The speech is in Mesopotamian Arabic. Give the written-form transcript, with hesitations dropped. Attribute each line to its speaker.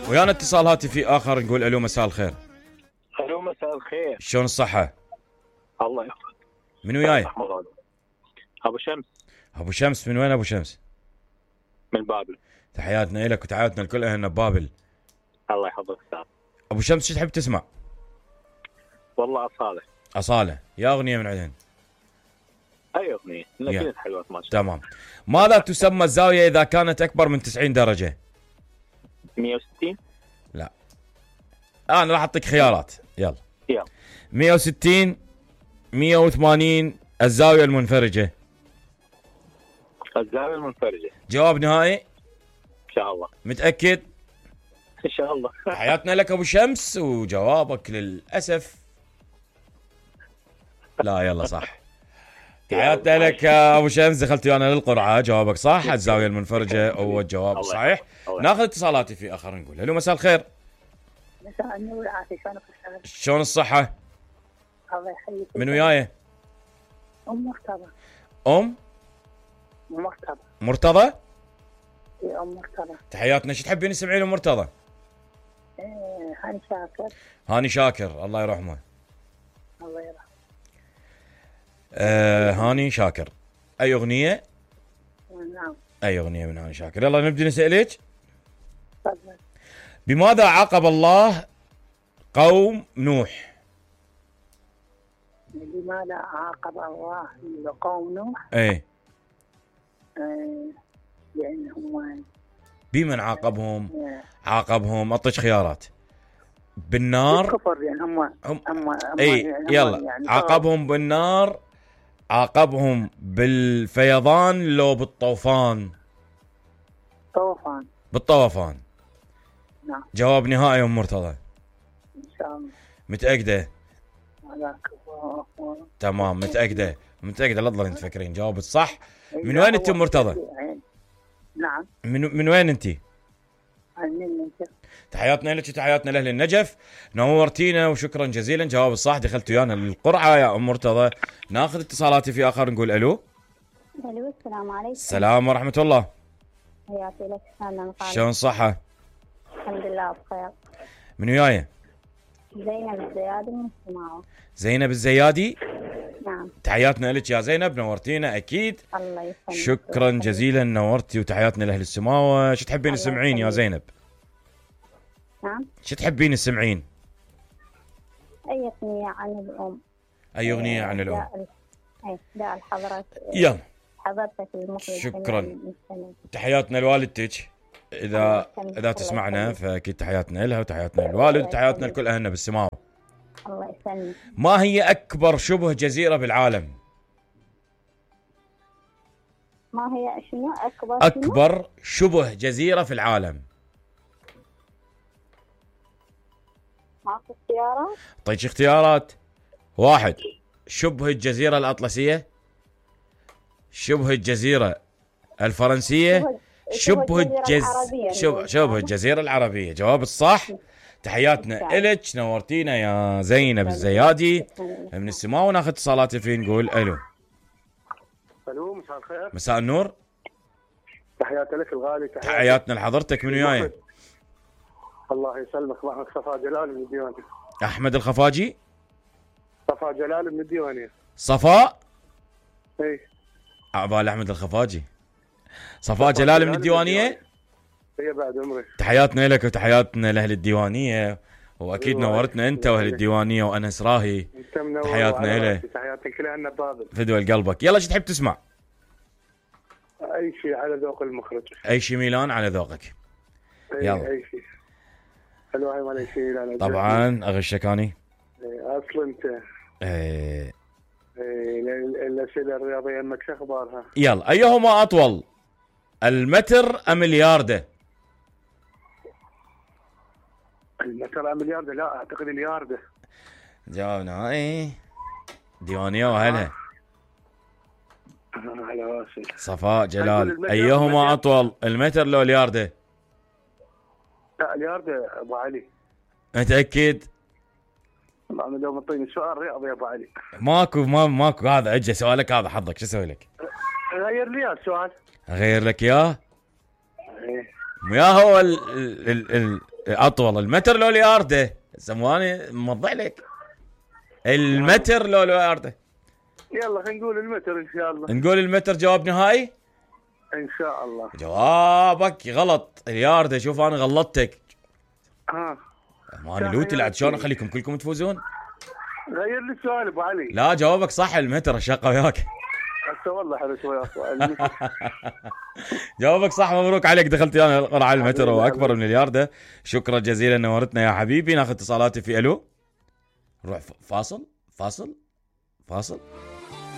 Speaker 1: ويانا اتصال هاتفي اخر، نقول الو مساء الخير.
Speaker 2: الو مساء الخير.
Speaker 1: شلون الصحة؟
Speaker 2: الله يحفظك.
Speaker 1: من وياي؟
Speaker 2: ابو شمس.
Speaker 1: ابو شمس من وين ابو شمس؟
Speaker 2: من بابل.
Speaker 1: تحياتنا لك وتحياتنا لكل اهلنا ببابل.
Speaker 2: الله يحفظك استاذ.
Speaker 1: ابو شمس شو تحب تسمع؟
Speaker 2: والله
Speaker 1: أصالة، يا اغنية من عندهن.
Speaker 2: اي اغنية، كلها حلوة ما شاء
Speaker 1: الله. تمام. ماذا تسمى الزاوية اذا كانت اكبر من 90 درجة؟
Speaker 2: 160.
Speaker 1: لا، انا راح اعطيك خيارات. يلا 160 180 الزاوية المنفرجة.
Speaker 2: الزاوية المنفرجة.
Speaker 1: جواب نهائي؟
Speaker 2: ان شاء الله.
Speaker 1: متأكد؟
Speaker 2: ان شاء الله.
Speaker 1: حياتنا لك ابو شمس، وجوابك للأسف لا. يلا صح. حياتنا لك يا ابو شمس، دخلت انا للقرعة. جوابك صح، الزاوية المنفرجة هو الجواب الصحيح. ناخذ اتصالاتي في اخر، نقول الو مساء الخير.
Speaker 3: مساء النور والعافية، شلونك استاذ؟
Speaker 1: شلون الصحة؟
Speaker 3: الله يحييك.
Speaker 1: من وياي؟
Speaker 3: ام مرتضى.
Speaker 1: مرتضى؟
Speaker 3: اي ام مرتضى.
Speaker 1: تحياتنا. شو تحبين تسمعين ام مرتضى؟
Speaker 3: هاني شاكر.
Speaker 1: هاني شاكر، الله يرحمه.
Speaker 3: الله يرحمه.
Speaker 1: هاني شاكر. اي اغنية؟
Speaker 3: نعم.
Speaker 1: اي اغنية من هاني شاكر. يلا نبدي نسألك.
Speaker 3: تفضل.
Speaker 1: بماذا عاقب الله قوم نوح؟
Speaker 3: بماذا عاقب الله قوم نوح؟
Speaker 1: ايه.
Speaker 3: لأنهم
Speaker 1: بمن عاقبهم؟ عاقبهم، اعطيك خيارات. بالنار.
Speaker 3: بالكفر، يعني هم
Speaker 1: اي
Speaker 3: يعني
Speaker 1: يلا
Speaker 3: يعني
Speaker 1: عاقبهم بالنار، عاقبهم بالفيضان، لو بالطوفان؟ بالطوفان.
Speaker 3: نعم.
Speaker 1: جواب نهائي ام مرتضى؟
Speaker 3: ان شاء الله.
Speaker 1: متأكدة؟ تمام، متأكدة لا تظلين تفكرين. جوابك صح. من وين انت ام مرتضى؟
Speaker 3: نعم.
Speaker 1: من وين انت؟
Speaker 3: من النجف.
Speaker 1: تحياتنا لك وتحياتنا لاهل النجف، نورتينا وشكرا جزيلا. جواب الصح، دخلت ويانا للقرعه يا ام مرتضى. ناخذ اتصالاتي في اخر، نقول الو.
Speaker 3: السلام عليكم.
Speaker 1: السلام ورحمه الله.
Speaker 3: حياتي لك استاذ.
Speaker 1: شلون الصحه؟
Speaker 3: الحمد لله بخير.
Speaker 1: من وياي؟
Speaker 3: زينب الزيادي من السماوه.
Speaker 1: زينب الزيادي؟
Speaker 3: نعم.
Speaker 1: تحياتنا لك يا زينب، نورتينا اكيد.
Speaker 3: الله يسلمك.
Speaker 1: شكرا جزيلا، نورتي وتحياتنا لاهل السماوه. شو تحبين تسمعين يا زينب؟
Speaker 3: نعم.
Speaker 1: شو تحبين تسمعين؟
Speaker 3: اي اغنيه عن الام.
Speaker 1: اي اغنيه عن الام؟
Speaker 3: لا الحضرات.
Speaker 1: يلا
Speaker 3: حضرتك المخرج.
Speaker 1: شكرا. تحياتنا لوالدتك اذا تسمعنا، فاكيد تحياتنا لها وتحياتنا للوالد وتحياتنا لكل اهلنا بالسماوه.
Speaker 3: الله يسلمك.
Speaker 1: ما هي اكبر شبه جزيره بالعالم؟
Speaker 3: ما هي شنو
Speaker 1: اكبر شبه جزيره في العالم؟
Speaker 3: ماكو اختيارات؟
Speaker 1: اعطيك اختيارات. 1 شبه الجزيره الاطلسيه، شبه الجزيره الفرنسيه، شبه الجزيره العربيه. جواب الصح. تحياتنا إلك، نورتينا يا زينب الزيادي من السماء. وناخذ اتصالات في، نقول الو.
Speaker 2: الو مساء الخير.
Speaker 1: مساء النور.
Speaker 2: تحياتي لك الغالي.
Speaker 1: تحياتنا لحضرتك. من وياي؟
Speaker 2: الله يسلمك. معك صفاء جلال من الديوانية.
Speaker 1: احمد الخفاجي.
Speaker 2: صفاء جلال من الديوانية.
Speaker 1: صفاء؟
Speaker 2: اي
Speaker 1: عبال احمد الخفاجي. صفاء جلال من الديوانية.
Speaker 2: هي بعد عمري.
Speaker 1: تحياتنا لك وتحياتنا لاهل الديوانية، واكيد نورتنا انت واهل الديوانية وانس راهي. تحياتنا له.
Speaker 2: تحياتك لنا بابل.
Speaker 1: فدوى قلبك. يلا شو تحب تسمع؟
Speaker 2: اي شيء على ذوق المخرج.
Speaker 1: اي شيء ميلان على ذوقك. يلا.
Speaker 2: اي شيء. الواحد ولا شيء.
Speaker 1: طبعا اغشك اني.
Speaker 2: اصلا انت. الاسئله الرياضيه انك شو اخبارها؟
Speaker 1: يلا. ايهما اطول، المتر ام الياردة؟
Speaker 2: المتر ام الياردة؟ لا اعتقد الياردة.
Speaker 1: جاوبنا اي ديوانية واهلها.
Speaker 2: على راسي.
Speaker 1: صفاء جلال، ايهما اطول، المتر لو الياردة؟
Speaker 2: لا الياردة ابو علي.
Speaker 1: متأكد؟
Speaker 2: انا لو معطيني سؤال رياضي يا ابو علي.
Speaker 1: ماكو هذا اجى سؤالك، هذا حظك. شو اسوي لك؟
Speaker 2: غير لي السؤال.
Speaker 1: اغير لك اياه؟
Speaker 2: ايه.
Speaker 1: ويا هو اطول المتر لو الياردة؟ سمواني موضح لك. المتر لو الياردة؟
Speaker 2: يلا خلينا نقول المتر ان شاء الله.
Speaker 1: نقول المتر جواب نهائي؟
Speaker 2: ان شاء الله.
Speaker 1: جوابك غلط، الياردة. شوف انا غلطتك. انا لوتي لعد شلون اخليكم كلكم تفوزون؟
Speaker 2: غير لي السؤال ابو علي.
Speaker 1: لا جوابك صح، المتر. الشقه وياك.
Speaker 2: هسه والله حلو شوي سؤال.
Speaker 1: جوابك صح، مبروك عليك. دخلت انا القرعه المتر واكبر من الياردة. شكرا جزيلا، نورتنا يا حبيبي. ناخذ اتصالاتي في الو. نروح فاصل.